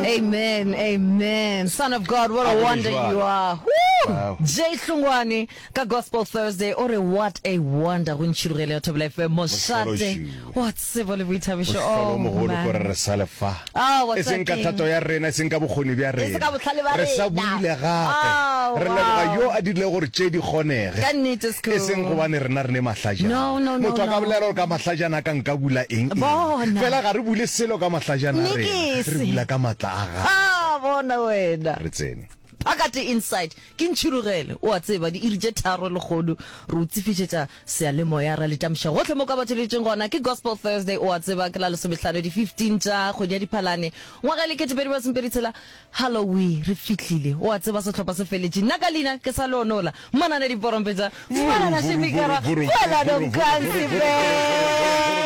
Amen, amen. Son of God, what a wonder you are. Woo! Jay Hlungwani ka Gospel Thursday o re what a wonder go ntšhirogele ya Thobela FM mošate wa tsebo le boithabišo. Oh, mogolo ko re re sa le fa. Oh, e seng ka thato ya rena, e seng ka bokgoni bja rena. ka bohlale ba Re sa buile gape. Oh, Re leboga yo a dirilego gore tše di kgonege. Ka nnete, E seng gobane rena re ne mahlajana. No, no, no, Motho a ka no. bolela gore ka mahlajana a ka nka bula eng eng. Bona. Fela ga re bule selo ka mahlajana a rena. Nikisi. Re bula ka matla a gagwe. Ah, bona wena. Re tsene. Phakate Inside, ke ntšhirogele, o a tseba, diiri tše tharo lekgodu, re o tsefišetša seyalemoya, ra le tamiša gohle mo ka ba theletšeng gona. Ke Gospel Thursday, o a tseba, ke la lesomehlano, di 15 tša kgwedi ya Diphalane, ngwaga e le 2026. Hallowee, re fihlile. O a tseba sehlopha se feletše. Nna ka leina ke sa Leonola. Manane diporompetša. Manana Shemikara. Kwelano Mkansi babe.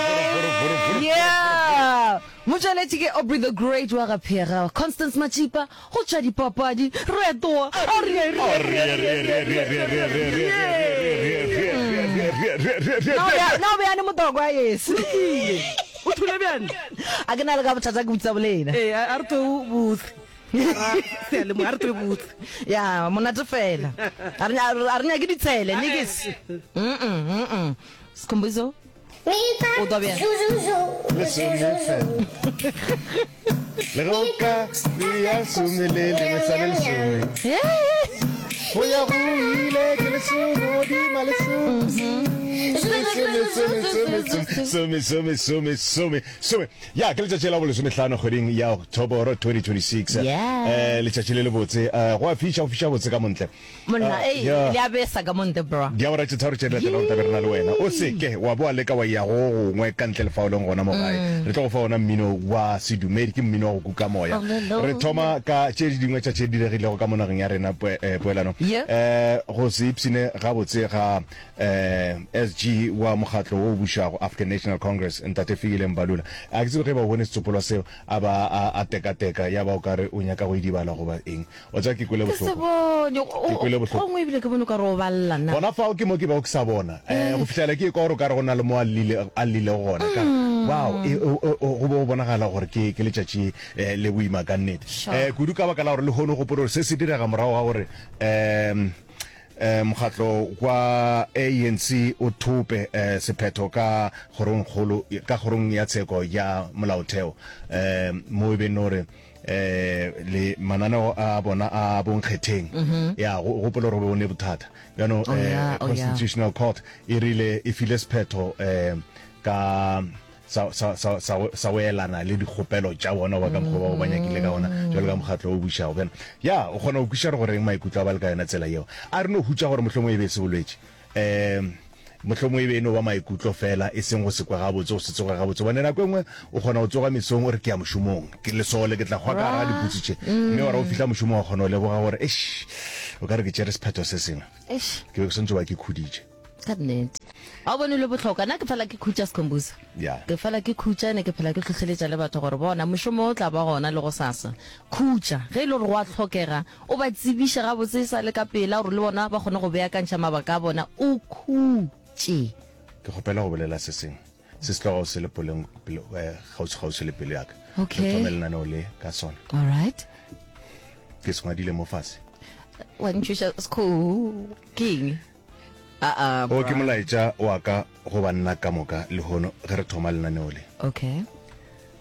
Yeah. Motšweletši ke Aubrey the Great wa ga Phega. Constance Matšipa go tšwa dipapadi. Retoa. Na o bjane motokwa yes. O thule bjane? A ke na le ka bothata ke botsa bolena. Ee, a re twe botse. Seyalemoya, a re twe botse. Ya, monate fela. A re a re nyake ditshele, nikis. Mm mm. Sikhumbuzo. O twa bjang? Lesome fela. Le ge o ka ya some le lengwe sa le lesome. Go ya go ile ke lesome godima lesome. Some, some, some, some, some, some, some, some. Ya, ke letšatši la bolesomehlano kgweding ya Oktoboro 2026. Yeah. Eh, letšatši le lebotse. Eh, go a fiša, go fiša botse ka montle. Monna, ei, Yeah. le a besa ka montle, bro. Diawara tše tharo tše di latelago tla be re na le wena. O se ke wa bo wa leka wa ya go gongwe ka ntle le fao leng gona mo gae. Re tlo go fa ona mmino wa sedumedi, ke mmino wa go kuka moya. Re thoma ka tše dingwe tša tše di diregilego ka mo nageng ya rena eh, poelano. Yeah. Eh, go se ipshine gabotse ga eh, SG wa mokgatlo wo o bušago African National Congress, Ntate Fikile Mbalula. A ke tsebe ge ba o bone setsopolwa seo a ba a, a tekateka ya ba o ka re o nyaka go idibala goba eng. Wa tseba ke kwele Ke se bohloko. bone. Ke kwele bohloko. Gongwe ebile ke bone o ka re o balla na. Gona fao ke mo ke bego ke sa bona. Eh, go fihlela ke ekwa gore o ka re go na le mo a llile, a llilego gona. Ka re, wow, e, o, o, o, go be go bonagala gore ke, ke letšatši eh, le boima ka nnete. Sure. Eh, kudu ka baka la gore lehono gopola gore se se direga morago ga gore um eh, mokgatlo wa ANC o thope eh, sephetho ka kgorongkgolo, ka kgorong ya tsheko ya molaotheo eh, mo e beng gore eh le mananeo a bona a bonkgetheng mm-hmm. ya go gopola gore o ne bothata bjano oh, eh, oh, constitutional court e rile e file sephetho eh ka sa sa sa sa sa go elana le dikgopelo tša bona ba ka mokgwa bao ba nyakile ka ona jalo ka mokgatlo o bušago bjana ya o kgona go kwiša gore goreng maikutlo a ba le ka yona tsela yeo a re no hutša gore mohlomongwe e be e se bolwetši um Mohlomongwe e be e no ba maikutlo feela, e seng go se kwe gabotse, go se tsoge gabotse. Gobane nako e nngwe o kgona go tsoga mesong o re, Ke ya mošomong, ke lesole, ke tla hwa ka gare ga diputsu tše. Mme wa re o fihla mošomong wa kgona go leboga gore, Eish, o ka re ke tšere sephetho se sengwe. Ke be ke swanetše go ba ke khuditše. Ka nnete. Ga o bone le bohlokwa. Nna ke fela ke khutša Skhumbuzo. Ya. Ke fela ke khutša, ene ke phela ke hlohleletša le batho gore bona mošomo o tla ba gona le gosasa. Khutša. Ge e le gore go a hlokega, O ba tsebiše gabotse e sa le ka pela gore le bona ba kgone go beakantšha mabaka a bona. O khutše. Ke kgopela go bolela se sengwe se se tlogago se le poleng, pelo, eh, kgauswi-kgauswi le pelo ya ka. Okay. Re thome lenaneo le ka sona. All right. Ke se ngwadile mo fase. Wa ntšhoša Skho. Ke eng? A-a, O ke bra. molaetša wa ka go banna ka moka lehono ge re thoma lenaneo le. Okay.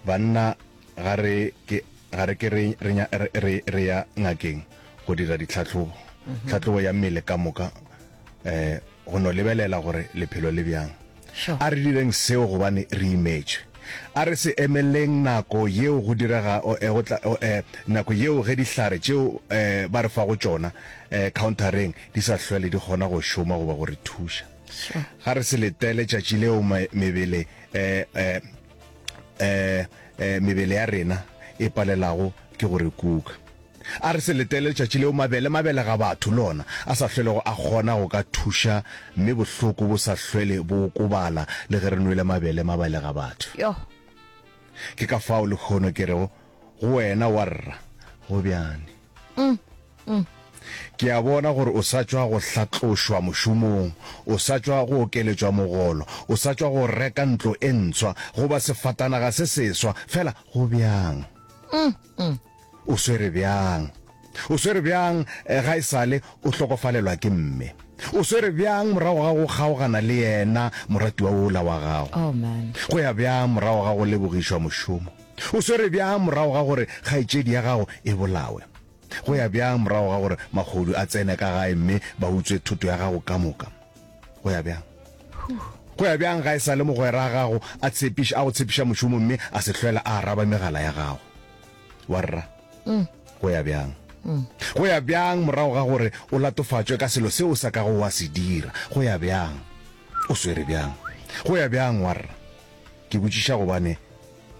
Banna Ga re ke, ga re ke re, re, re, re, re ya ngakeng go dira ditlhahlobo, tlhahlobo ya mmele ka moka, eh, go no lebelela gore lephelo le bjang. Sure. A re direng seo gobane re imetšwe. A re se emeleng nako yeo go direga, o, eh, go tla, o, eh, nako yeo ge dihlare tšeo, eh, ba re fago tšona, eh, khaonthareng di sa hlwele di kgona go šoma goba go re thuša. Sure. Ga re se letele tšatši leo me, mebele, eh, eh, eh, eh, mebele ya rena e palelago ke go re kuka. A re se letele letšatši leo mabele mabelega batho le ona a sa hlwelego a kgona go ka thuša mme bohloko bo sa hlwele bo okobala le ge re nwele mabele mabelega batho. Yoh. Ke ka fao lehono ke rego go wena warra, go bjane? Ke a bona gore o sa tšwa go hlatlošwa mošomong, o sa tšwa go okeletšwa mogolo, o sa tšwa go reka ntlo e ntshwa goba sefatanaga se seswa, fela go bjang? O swere bjang? O swere bjang ga e sa le o hlokofalelwa ke mme? O swere bjang morago ga go kgaogana le yena moratiwa wola wa gago? Oh man. Go ya bjang morago ga go lebogišwa mošomo? O swere bjang morago ga gore kgaetšedi ya gago e bolawe? Go ya bjang morago ga gore mahodu a tsene ka gae mme ba utswe thoto ya gago ka moka? Go ya bjang? Go ya bjang ga e sa le mogwera a gago a tshepiša, a go tshepiša mošomo mme a se hlwela a araba megala ya gago? Warra. Go ya bjang? Go ya bjang morago ga gore o latofatšwe ka selo seo o sa kago wa se dira? Go ya bjang? O swere bjang? Go ya bjang, warra? Ke botšiša gobane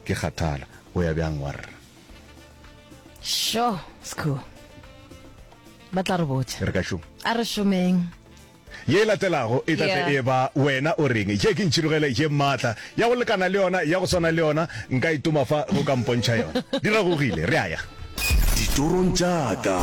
ke kgathala. Go ya bjang, warra? Sho, Skhoo. Ba tla re botša. Re ka šoma. A re šomeng. Ye e latelago e tla tle Yeah. e ba Wena o Reng? Ye ke ntšhirogele ye maatla ya go lekana le yona, ya go swana le yona, nka itoma fa ge o ka mpontšha yona. Di ragogile, re a ya. Ditorong tša ka.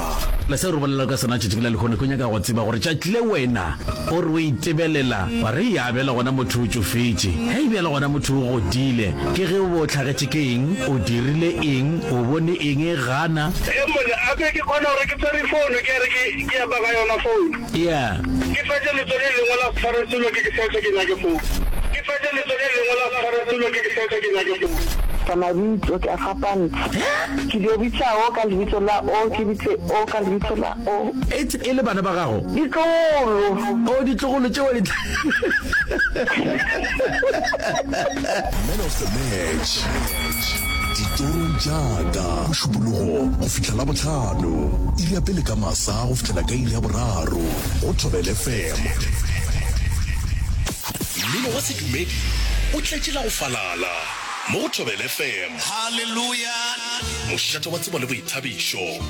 Le seo re bolelago ka sona tšatši la lehono, ke nyaka go tseba gore tšatši le wena o re o itebelela wa re, Ya, bjale gona motho o tšofetše. Hei, bjale gona motho o godile. Ke ge o be o hlagetše ke eng? O dirile eng? O bone eng? Gana. Ee monna, a be ke kgona gore ke tshwere founu ke re ke ke epa ka yona founu. Yeah. Ke fetše letso le lengwe la tshware selo ke ke setse ke nyake founu. Ke fetše letso le lengwe la tshware selo ke ke setse ke nyake founu. Ka mabitso ke a fapantsha. Ke dio bitsa o ka lebitso la o, ke bitse o ka lebitso la o. Etse e le bana ba gago? Ditlogolo. Oh, ditlogolo tšeo di Man of the match. Ditorong tša ka. Mošupologo go fihla Labohlano, iri ya pele ka masa go fihlela ka iri ya boraro go Thobela FM. Mmino wa sedumedi o tletše la go falala mo go Thobela FM. Haleluya! Mošate wa tsebo le boithabišo.